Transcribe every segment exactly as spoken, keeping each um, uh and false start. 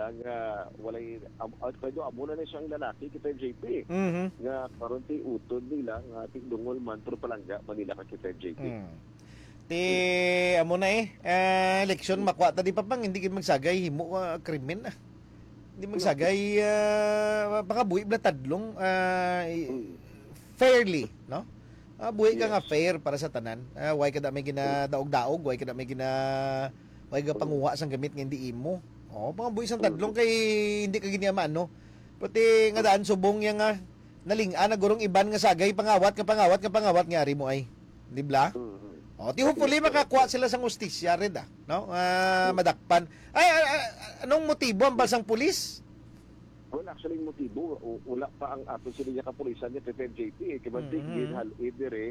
Ang, ah, walay, am-, ah, pero amo na na siyang lalaki, K five J P, Mhm. nga karon ti utod nila nga ti dungol man, pero palangga man nila ka, K five J P. Mm. Ti, amo na eh. Ah, eleksyon, makuha ta di pa pang, hindi gid magsagay, himo, ah, krimen, ah. Hindi magsagay, ah, pangabuhi bala tadlong, ah, i-, Mm. fairly, no? Ah, buhi ka nga Yes. fair para sa tanan. Ah, why ka da may ginadaog-daog, why ka da may gina-, why ka Mm. panguha sang gamit nga hindi imo? Oh, pangabuhi sang Mm. tadlong kay hindi ka gini maano. Pati nga daan subong niya nga naling-an na gurong iban nga sagay, pangawat nga pangawat nga pangawat nga ari mo ay. Di bla? Mm. Oh, ti hopefully Yes, correct. makakuha sila sang hustisya rin, ah, no? Ah, Mm. madakpan. Ay, ah, ah, anong motibo ang basang pulis? Well, actually, ang motibo, u-, wala pa ang aton sila nga kapulisan nga K five J P, eh. Kay mantik, Mm-hmm. ginhal-id dire,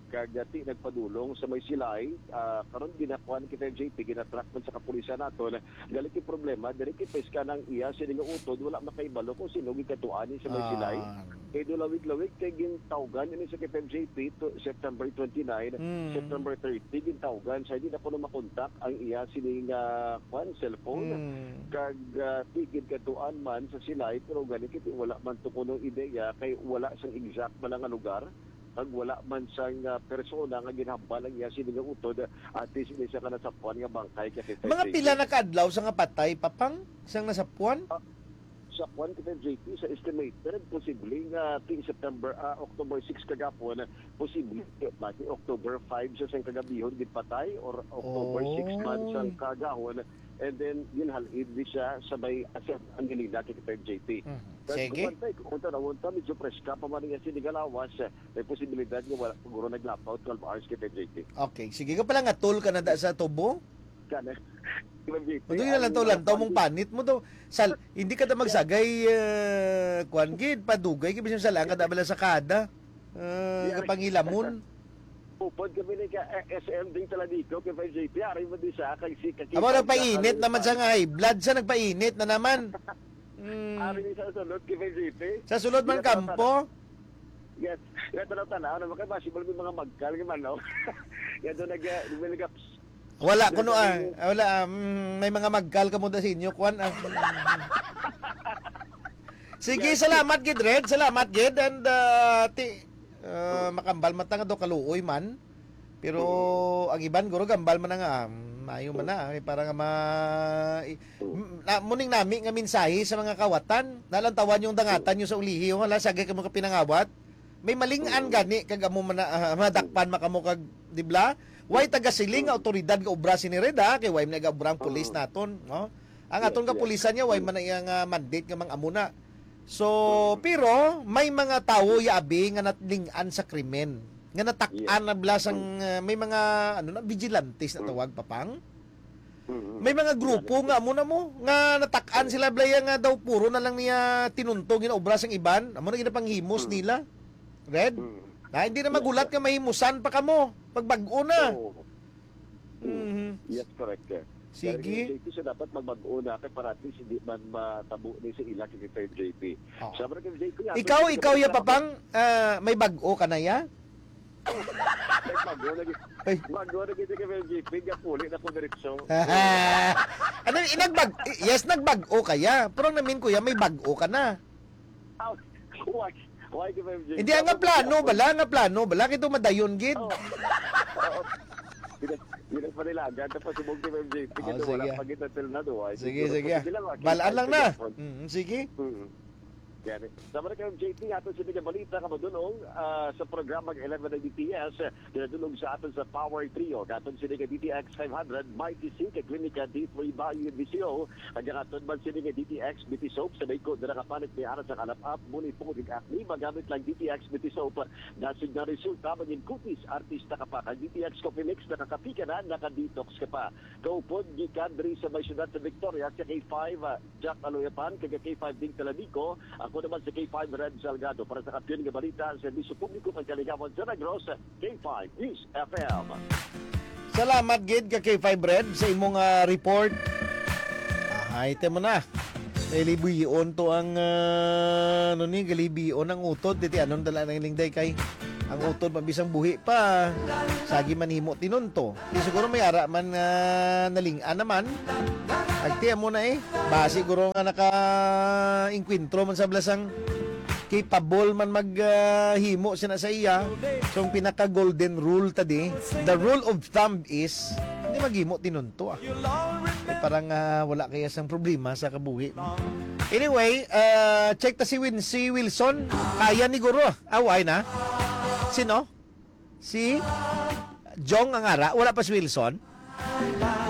kag, ah, ti nagpadulong sa may Silay, ah, karon ginakuan K five J P, ginatrack man sa kapulisan naton. Gali kay problema, diri kay peska nang iya sini nga utod, wala makahibalo kung sino gikatuan ni sa may Silay. Ah. Kay do lawig-lawig kay gintawgan ini sa K five J P to September twenty-nine, Mm. September thirty, gintawgan siya, di na kuno makontak ang iya sini nga, kwan, cellphone. Mm. Kag, ah, tigid katuan man sa Silay, pero gani kay wala man to kuno ideya kay wala sang exact man nga lugar, kag wala man sang, ah, persona nga ginhambal ang iya sini nga utod, at least ini siya ka nasapuan nga bangkay kay Mga K five J P. pila na ka adlaw sa nga patay, Papang, sang nasapuan? Ah, sa kwan, K five J P, sa estimated, posible nga ti September, ah, October six kagapon, posible nga ti October five sa sang kagabihon gid patay or October six man sang Oy. kagahon, and then ginhal-id ni siya sa may Asan Angelina, K five J P. Mhm. Kag Sige. kuwan, tay, kung tanawon ta, medyo preska pa man niya sini nga lawas, eh, may posibilidad nga wala siguro naglapaw twelve hours, K five J P. Okay, sige ka pala nga tol ka na da sa tubo? Kana. K five J P, Uy, ang lantaw-lantaw mong panit mo to. Sal, hindi ka ta magsagay, eh, kwan gid, padugay gid, bisan sa lang ka da bala sa kada. Eh, Yeah. kapangilamon. Upod kami ni ka, eh, S M ding Taladico, K five J P, ari mo di sa, kay si, kay Amo, Kay nagpainit Kay naman sa nga high blood sa nagpainit na naman. Mm. Ari ni sa sulod, K five J P. Sa sulod man Iya, kampo? Yes. Iya, tanaw-tanaw naman kay possible may mga magkal nga manok. Iya, doon nag-, nag-, Wala Yes, kuno, ah. sir. Ah, wala, ah. Mm, may mga magkal ka mo da sa inyo, kwan, ah. Sige, Yes, sir. salamat gid, Red. Salamat gid. And, ah, ti-, ah, Mm. makambal man ta nga do kaluoy man. Pero Mm. ang iban, guro, gambal man na nga, ah, maayo man Mm. na, eh, para nga ma-, i-, Mm. m-, na, muning nami nga mensahe sa mga kawatan, nalantawan yung dangatan Mm. nyo sa ulihi, oh, hala, sagay ka mo ka pinangawat. May maling-an Mm. gani, kag amo man na, ah, madakpan Mm. man kamo kag, di bla? Why Mm. taga siling nga Mm. awtoridad nga obra sini, Red, ha? Kay why man nag-obra ang pulis Mm. naton, no? Ang Yes, aton yes. kapulisan niya, why Mm. man na iya nga mandate nga mang-amo na. So, Mm. pero may mga tawo, ya abi, nga naling-an sa krimen. Nga natak-an Yes. na bala sang, Mm. uh, may mga, ano na, vigilantes na Mm. tawag, Papang. Mm. May mga grupo Yes. nga amo na mo, nga natak-an Mm. sila, bala ya nga daw puro na lang niya tinuntong yung obra sang iban. Amo na ginapanghimos Mm. nila. Red? Mm. Na, hindi na Yes, magulat yes. nga mahimusan pa kamo. Pagbag-o na. Oo. Mhm. Yes, correct, sir. Sige. Kaya, J P, so dapat magbag-o na kay para at least hindi man matabo ni sa ila kay J P. Oo. Sa mga kay J P, Ikaw, ato, ikaw, ya, ikaw, Papang, ah, may bag-o ka na, ya? May bag-o lagi. Ay. Bag-o lagi si kay J P, nga puli na ko diretso. Ano, inagbag-, yes, nagbag-o ka, ya. Pero ang namin, kuya, may bag-o ka na. Ah, why? Why, K five J P? Hindi, ang nga plano, bala, nga plano, bala, kito madayon, gid. Oo. Oo. Hindi, hindi pa nila agad. Tapos subong, K five J P, Oh, kito wala sige. pa kita till na, do. Ay, Sige, siguro sige. pwede lang, ah, Balaan lang kita na. cellphone. Mm, sige. Mm. Yan. Sa mga K five J P, ato sini nga balita, kamadunong, ah, sa programang Eleven ng D T S, ginadulog sa aton sa Power Trio. Aton sini nga D T X five hundred, Mighty C, kag Klinika D three Bayu, D C O. Kag ang aton man sini nga D T X Beauty Soap, sa may ko, dira ka panit may aras sa kalap-ap, muni po, kag acne, magamit lang D T X Beauty Soap. Dasig na resulta, maging kutis, artista ka pa. Kag D T X Coffee Mix, nakakapi ka na, naka-detox ka pa. Kaupod, gikan diri sa may siyudad sa Victoria, sa K five, ah, Jack Aloyapan, kag K five Ding Taladico. Ako naman si K five Red Salgado. Para sa Kampiyon nga Balita, Serbisyo Publiko kag Kaligawan sa Negros, K five News F M. Salamat gid ka K five Red sa imong, ah, report. Ahay, te mo na. Kay libion to ang, ah, ano ni, galibion ang utod. Diti, anong dala ng lingday kay? Ang utod man bisang buhi pa, sagi man himo tinunto. Di siguro may ara man nga naling-an naman. Agti amo na eh. Basi guro nga naka-inkwentro man sa blasang capable man mag, ah, himo sina sa iya. So, ang pinaka golden rule tadi, the rule of thumb is, hindi maghimo tinunto, ah. Eh, parang, ah, wala kaya sang problema sa kabuhi. Anyway, ah, check ta si Win-, si Wilson. Kaya ni guro. Ah, why na? Sino? Si Jong ang ara. Wala pa si Wilson.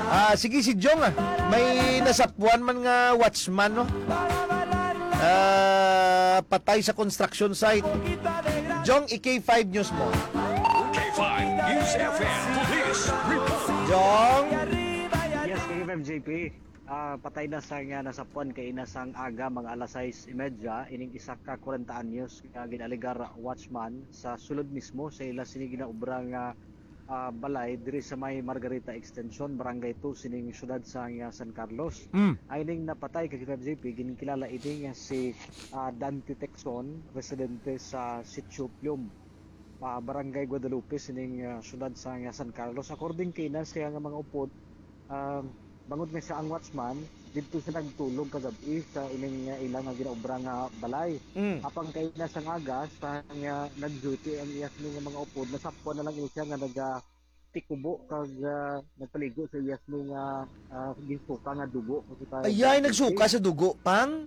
Ah, sige, si Jong, ah. May nasapuan man nga watchman, no? Ah, patay sa construction site. Jong, i-K five news mo. K five News F M Police Report. Jong. Yes, K five J P. Ah, patay na sang, ah, nasapuan kaina sang aga, mga alas sais y media, ining isa ka kwarenta anyos nga gin-alegar watchman sa sulod mismo sa ila sini ginaobra nga, ah, balay diri sa may Margarita Extension, Barangay two, sining siyudad sang, ah, San Carlos. Mm. Ay ning napatay ka K five J P, ginkilala ini nga si, ah, Dante Texon, residente sa Sitio Pium, ah, Barangay Guadalupe, sining, ah, siyudad sang, ah, San Carlos. According kay ina siya nga mga upod, ah, bangod nga siya ang watchman, didto siya nagtulog kagab-i sa ining, ah, ila nga ginaobra nga balay. Mm. Apang kay na sang aga, sa nga nag-duty ang iya sini nga mga upod, nasapuan na lang ini siya nga nagatikubo kag, ah, nagpaligo sa iya sini nga, ah, ginsuka nga dugo. Kasi pa Ayay, nagsuka sa dugo, pang?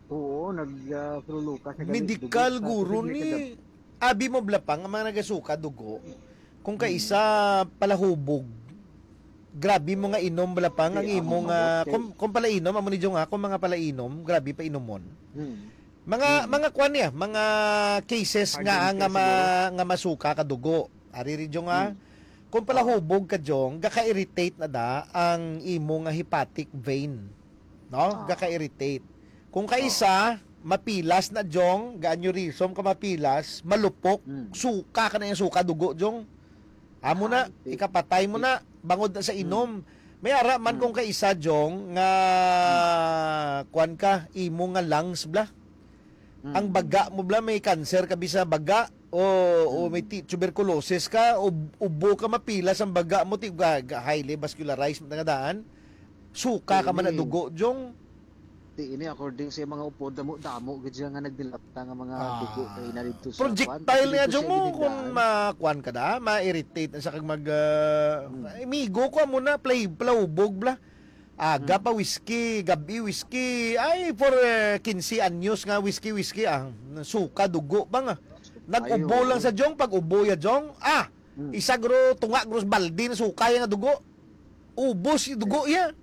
Oo, nag, ah, sululuka sa gali-, Medikal dugo sa guro tubig ni ni kagab- Abi mo bala, pang, ang mga nagasuka dugo, kung Mm. kaisa palahubog, grabe mo nga inom bala, pang, ang Kaya imo ang nga, mamot kay kung, kung palainom, amo ni Jong, ha, kung mga palainom, grabe pa inumon. Mm. Mga, Mm. mga kwan niya, mga cases Hardened nga, nga case ma-, siguro. nga masuka ka dugo. Ari rin, Jong, ha? Mm. Kung Oo. palahubog ka, Jong, gaka-irritate na da ang imo nga hepatic vein. No? Ah. Gaka-irritate. Kung Oo. kaisa, mapilas na, Jong, ga-aneurysm ka mapilas, malupok, Mm. suka ka na yung suka, dugo, Jong. Amo na, Ah, di-, ikapatay mo di- na, bangod na sa Mm. inom. May ara man Mm. kung kaisa, Jong, nga Mm. kwan ka, imo nga lungs, bla. Mm. Ang baga mo, bla, may cancer ka, bisa baga, o, o Mm. may ti-, tuberculosis ka, o ubo ka, mapilas ang baga mo, ti-, ga-, ga-, highly vascularized, nga daan. Suka ka man Ini. na dugo, Jong. Ti ini, according sa mga upod, damo-damo gid siya nga nagdilata nga mga Ah. dugo kay na didto sa Projectile kwan, niya, didto Jong, sa mo, kung ginigdaan. ma-, kwan ka da, ma-irritate na sa kag mag, ah, Hmm. amigo ko amo na, play, plaubog bla. Aga Hmm. pa whiskey, gabi whiskey. Ay, for, eh, quince anyos nga whiskey, whiskey, ah, suka, dugo pa nga. Nag-ubo Ayo. lang sa Jong, pag ubo ya Jong, ah, Hmm. isa gro, tunga gros baldi na suka ya nga dugo. Ubos yung dugo iya.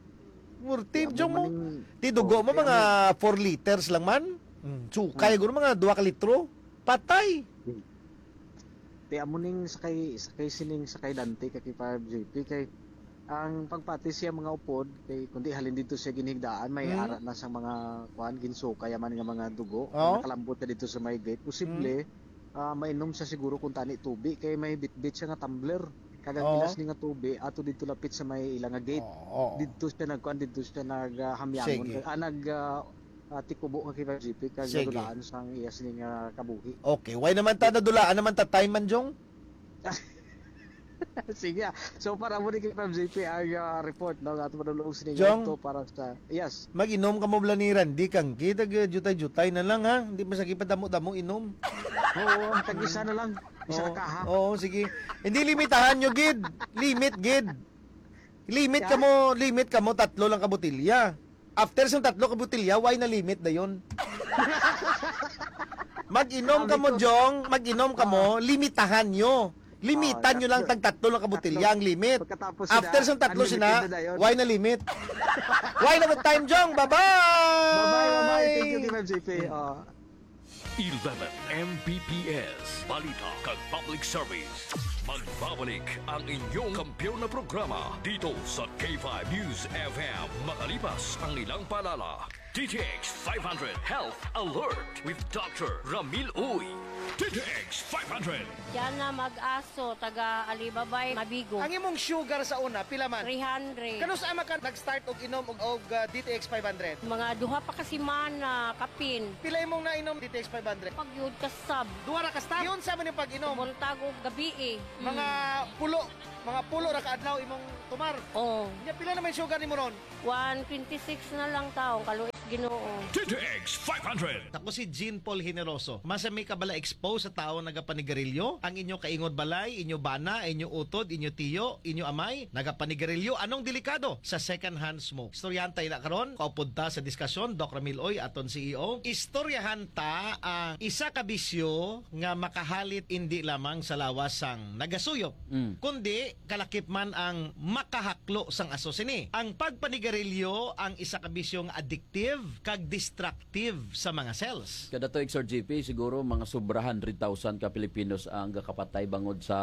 Murti, Kaya Jong mo mo. maning, Ti dugo oh, mo, kaya mga mo four liters lang man. Mm, sukay, Hmm. guro, mga dua ka litro. Patay. Hmm. Ti amo ning sakay, sakay sining sakay Dante ka K five J P kay ang pagpati siya mga upod kay kundi halin dito siya ginhigdaan may Hmm. ara na sa mga kuan ginsukay man nga mga dugo. Oo. Nakalambot na dito sa may gate. Posible Hmm. ah, mainom siya siguro kung tani tubi kay may bitbit siya nga tumbler. Kag ang Oo. ilas ni nga tubi ato didto lapit sa may ila nga gate. Oo, oo. Didto siya nagkuan, didto siya nag, ah, hamyangon. Sige. Ah, nag, ah, ah, tikubo nga kay G P kag Sige. nadulaan sang iya sini nga kabuhi. Okay, why naman ta nadulaan naman ta time man, Jong? Sige, ah. So, para mo ni kay G P ang, ah, report, no, nga ato madulong sini Jong? nga to para sa, yes. Mag-inom ka mo bala ni Randy, kang kita, jutay-jutay na lang, ha? Hindi pa sa kipadamo-damo inom. Oo, tag-isa na lang. Isa Oo, ka, ha? oo, sige. Hindi, limitahan nyo, gid. Limit, gid. Limit Yeah? ka mo, limit ka mo, tatlo lang ka botilya. After sa tatlo ka botilya, why na limit dayon? Mag-inom ka Sabi mo, ko, Jong, mag-inom ka mo, Oo. limitahan nyo. Limitan Oo, nyo lang tatlo. tag tatlo lang ka botilya Tatlo. ang limit. Pagkatapos After sila, sa tatlo sila, unlimited na dayon. why na limit? Why na with time, Jong? Bye-bye! Bye-bye, bye-bye. Thank you, Team M J P. Oh. Eleven M B P S, Balita kag Public Service. Magbabalik ang inyong kampiyon na programa dito sa K five News F M makalipas ang ilang paalala. D T X five hundred Health Alert with Doctor Ramil Uy. D T X five hundred. Diana Mag-aso, taga Alibabay, Mabigo. Ang imong sugar sa una, pila man? Three hundred. Kanus-a man ka nag-start og inom og, og, ah, D T X five hundred? Mga duha pa ka semana, kapin. Pila imong nainom D T X five hundred? Pagyud ka sab. Duha ra ka stop? Yun sa man yung pag-inom? Buntag o gabi eh. Mga Mm. pulo, mga pulo ra ka adlaw imong tumar. Oh. Nya, pila naman yung sugar nimo ron? One twenty-six na lang taong kaluoy sa Ginoo. D T X five hundred. Ako si Jean Paul Generoso. Masa may kabala expose sa tawo nagapanigarilyo? Ang inyo kaingod balay, inyo bana, inyo utod, inyo tiyo, inyo amay, nagapanigarilyo. Anong delikado sa second hand smoke? Istoryahan tayo na karon. Kaupod ta sa diskasyon, Doc Ramil Oy, aton C E O. Istoryahan ta ang isa ka bisyo nga makahalit indi lamang sa lawas sang nagasuyop, Mm. kundi kalakip man ang makahaklo sang aso sini. Ang pagpanigarilyo ang isa ka bisyo nga addictive kag destructive sa mga cells. Kada tuig, Sir G P, siguro mga sobra hundred thousand ka Pilipinos ang gakapatay bangod sa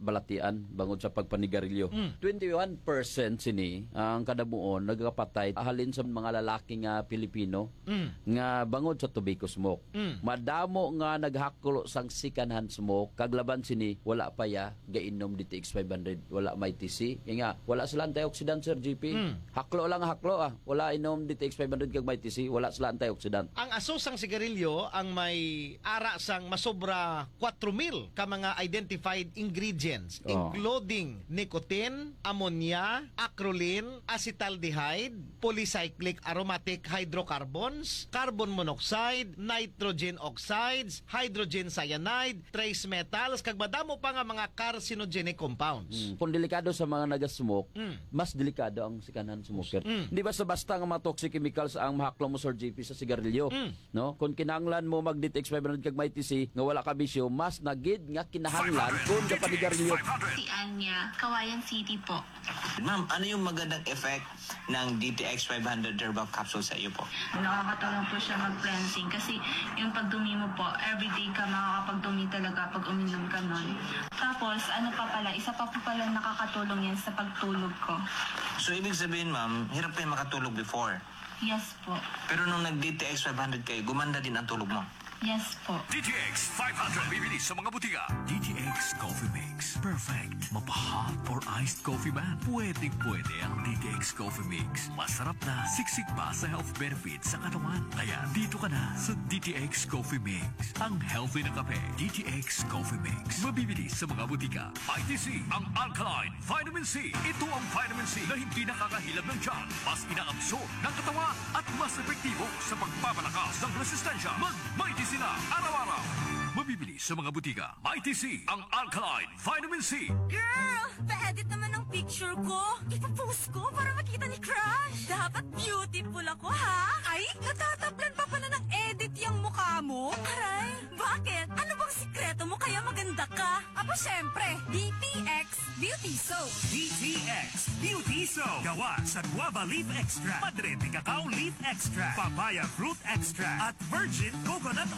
balatian, bangod sa pagpanigarilyo. Mm. Twenty-one percent sini ang kadamuon nagakapatay halin sa mga lalaki nga Pilipino Mm. nga bangod sa tobacco smoke. Mm. Madamo nga naghaklo sang second hand smoke, kag laban sini, wala pa ya gainom D T X five hundred, wala may T C. Kaya nga, wala sila antioxidant, Sir G P. Mm. Haklo lang, haklo, ah. Wala inom D T X five hundred kag may T C, wala sila antioxidant. Ang aso sang sigarilyo ang may ara sang masobra kwatro mil ka mga identified ingredients, Oh. including nicotine, ammonia, acrolein, acetaldehyde, polycyclic aromatic hydrocarbons, carbon monoxide, nitrogen oxides, hydrogen cyanide, trace metals, kag madamo pa nga mga carcinogenic compounds. Mm. Kung delikado sa mga nagasmoke, Mm. mas delikado ang second-hand smoker. Mm. Di basta-basta nga mga toxic chemicals ang mahaklo mo, Sir G P, sa sigarilyo. Mm. No? Kung kinahanglan mo mag-D T X five hundred kag may T C nga wala ka bisyo, mas nagid nga kinahanglan kung gapanigarilyo. Si Anya, Kawayan City po. Ma'am, ano yung magandang effect ng D T X five hundred herbal capsule sa iyo po? Nakakatulong po siya mag-cleansing kasi yung pagdumi mo po, everyday ka makakapagdumi talaga pag uminom ka nun. Tapos, ano pa pala, isa pa po pala nakakatulong yan sa pagtulog ko. So, ibig sabihin, ma'am, hirap kayo makatulog before? Yes po. Pero nung nag-D T X five hundred kayo, gumanda din ang tulog mo? Yes po. D T X five hundred. Mabibili sa mga butika. D T X Coffee Mix. Perfect. Mapa-hot or iced coffee man. Pwedeng-pwede ang D T X Coffee Mix. Masarap na, siksik pa sa health benefits sa katawan. Kaya dito ka na sa D T X Coffee Mix. Ang healthy na kape, D T X Coffee Mix. Mabibili sa mga butika. May T C ang alkaline vitamin C. Ito ang vitamin C na hindi nakakahilab ng tiyan, mas inaabsorb ng katawan at mas epektibo sa pagpapalakas ng resistensya. Mag May T C na araw-araw. Mabibili sa mga butika. May T C ang alkaline vitamin C. Girl, pa-edit naman ang picture ko. Ipopost ko para makita ni Crush. Dapat beautiful ako, ha? Ay, natatablan pa pala ng edit yung mukha mo. Aray, bakit? Ano bang sikreto mo kaya maganda ka? Aba, syempre, D T X Beauty Soap. D T X Beauty Soap. Gawa sa guava leaf extract, madre de cacao leaf extract, papaya fruit extract, at virgin coconut